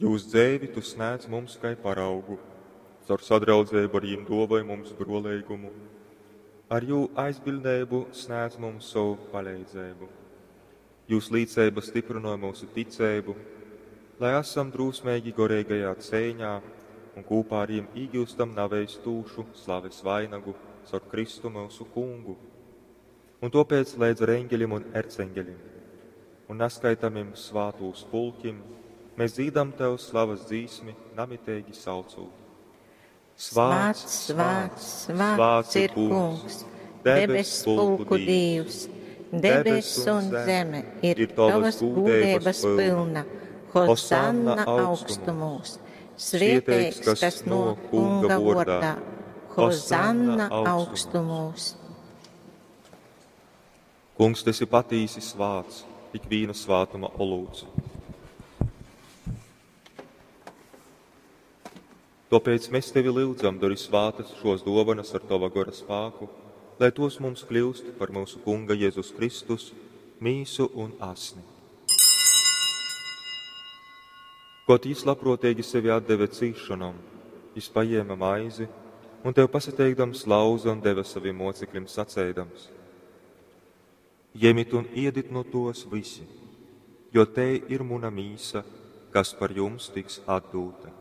Jūs dzeivi Tu snēdz mums kai paraugu, caur sadraudzeibu ar jim duovoj mums bruoleigumu, ar jū aizbiļdneibu snēdz mums sovu paleidzeibu. Jūs līceiba styprynoj myusu ticeibu, lai asam drūsmeigi goreigajā ceiņā un kūpā ar jim īgiustam naveistūšu slaves vainagu caur Kristu myusu Kungu. Un tōpēc leidz ar eņgeļim un erceņgeļim un naskaitamim svātūs pulkim mēs dzīdam Tev slavas dzīsmi, namiteigi saucūt. Svāts, svāts, svāts ir Kungs, debes pulku Dīvs, debess un zeme ir Tavas gūdeibas pilna. Hosanna augstumos, svieteigs, kas no Kunga vordā. Hosanna augstumos. Kungs, tu esi patīsi svāts, tik viena svātuma olūts. Tāpēc mēs tevi lyudzam, dari svātas šos dovanas ar tava gora spāku, lai tos mums kļūst par mūsu Kunga Jēzus Kristus mīsu un asni. Kaut jis labprātīgi sevi atdeve cīšanom, jis paņēma maizi un tev pasateikdams lauza un deva saviem mocekļiem saceidams: Ņemit un iedit no tos visi, jo te ir muna mīsa, kas par jums tiks atdūta.